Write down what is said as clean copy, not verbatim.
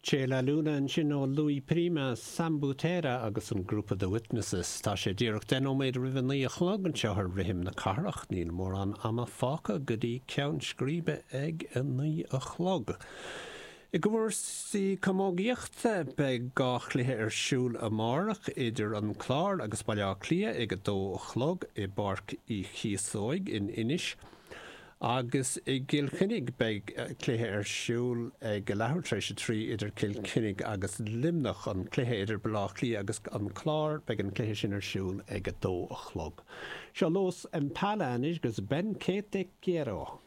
Che La Luna ansin ó Louis Prima, Sam Butera agus an grúpa The Witnesses. Tá sé díreach 10 nóiméad roimh a 9 a chlog anseo ar Rithim na Cathrach. Níl mórán ama fágtha go dtí ceann scríbe ag a 9 a chlog. I gcúrsaí camógaíochta, beidh 2 chluiche ar siúl amárach idir an Clár agus Baile Átha Cliath ag a 2 a chlog i bPáirc Uí Chíosóig in Inis. Agus i gCill Chainnigh beidh cluiche ar siúl ag a leathuair tar éis a 3 idir Cill Chainnigh agus Luimneach. An cluiche idir Baile Átha Cliath agus an Clár, beidh an cluiche sin ar siúl ag a 2 a chlog. Seo Los Impala anois agus Ven Que Te Quiero.